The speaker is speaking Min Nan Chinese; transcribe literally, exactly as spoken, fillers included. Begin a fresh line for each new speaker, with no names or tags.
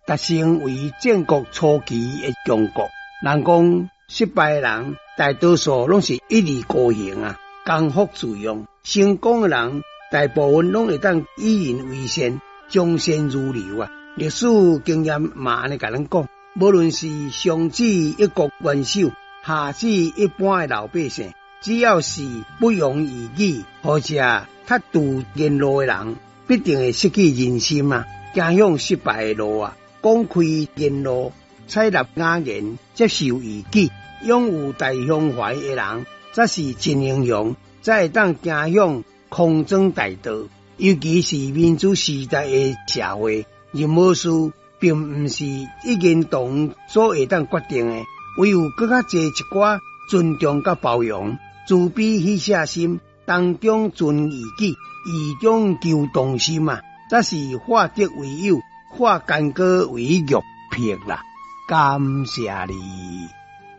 達成為戰國初期的強國。人講失敗的人，大多數攏是一意孤行啊，剛愎自用；成功的人，大部分攏會當與人為善，從善如流啊。歷史經驗嘛按呢共咱講，無論是上至一國元首，下至一般的老百姓，只要是不用異己或者較拄言路的人，必定會失去人心啊，走向失敗的路啊。廣開言路，採納雅言，接受異己，擁有大胸懷的人，才是真英雄，才會當走向康莊大道。尤其是民主時代的社會，任何事並毋是一言堂所會當決定的，唯有閣較濟一寡尊重佮包容，慈悲喜捨心，當中存異己，異中求同心啊，才是化敵為友，化干戈為玉帛啦。感謝你。